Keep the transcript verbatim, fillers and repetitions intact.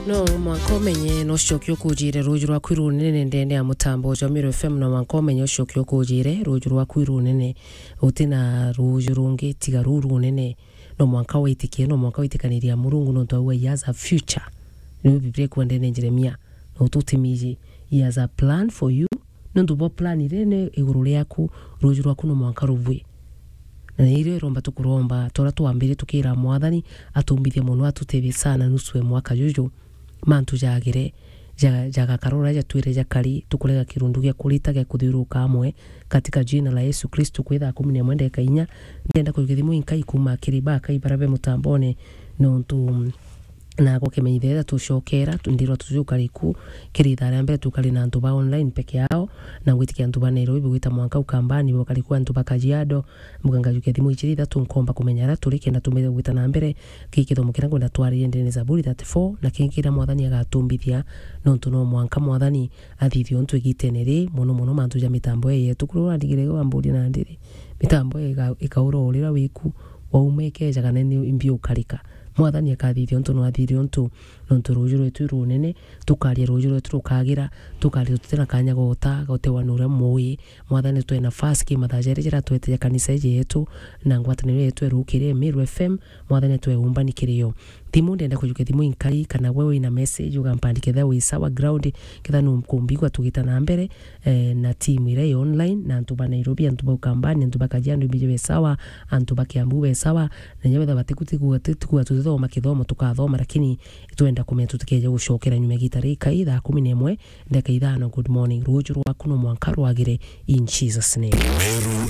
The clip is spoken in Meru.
No mwanka umenye, no ucoke ukujire ruuju rwaku runene ndene ya mutambo jwa Meru F M, no mwanka umenye ucoke ukujire ruuju rwaku runene. Uti na ruuju rungi tiga ruu runene. No mwanka witikie, no mwanka witikaniria Murungu, nontu au he has a future. Niu Biblia ikwenda ndene Jeremia, no tutimiji, he has a plan for you. Nontu bwa plan irene iguru riaku, ruuju rwaku no mwanka rubui. Na nirio iromba tukuromba, tora twambire tukira Mwathani atumbithie mono, atutethie sana nusu e mwaka juju. Mantu jagire, ja-, jagakara uria jatwire jakari, tukurega kirundu gia kurita gia kuthiuruka amwe, katika jina la Yesu Kristo, kwi thaa kumi na imwe ndeka inya. Ndenda kujukia thimu inkai kuma kiri bakai bara be mutambone, nontu, mm, na gukimenyithia tucokera, tu-, ndirwa tujuka riku, kiri ithaa ria mbere tukari na antu ba online peke yao, na ngwitikia antu ba Nairobi, bugwita mwanka Ukambani, bukari ku antu ba Kajiado, mbuga ngajukia thimu ichiri ithatu nkomba kumenya aria turi, kenda tumbire gwita na mbere. Ki kithomo kiria ngwenda twaririe ndene Zaburi thirty-four, na kingi kiria Mwathani agatumbithia, nontu no mwanka Mwathani athithie untu igitene ri, mono mono mantu ja mitambo ii yetu. Kuria urandigire wamburia nandi ri, mitambo ii ika-, ikaura urira wiku, wauma ikeja kana ni mbi ukarika. Mwathani akathithia untu no athithie untu, nontu ruuju rwetu i runene, tukaria ruuju rwetu rukagira, tukaria tutina kanya gota, gotewa nuria mui, Mwathani, twe nafasi ki mathaa jari jara twete ja kanisa iji yetu, na ngwataniro yetu erukire Meru F M, Mwathani, twe umbani kiri yo. Thimu, ndenda kujukia thimu inkari, kana we wina message, ugampandike ketha wi sawa ground, ketha nukumbigwa tugita na mbere, eh, na team iria i online, na antu ba Nairobi, antu ba Ukambani, antu ba Kajiado, imbiji be sawa, antu ba Kiambu be sawa, na inya wetha batiku-, tiku-, tiku-, tutithoma kithomo tukathoma, lakini twenda kumenya tutikeje gucokera nyuma igita rikai thaa kumi na imwe, ndeka ithano. Good morning. Ruuju rwaku no mwanka rwagire in Jesus name. Meru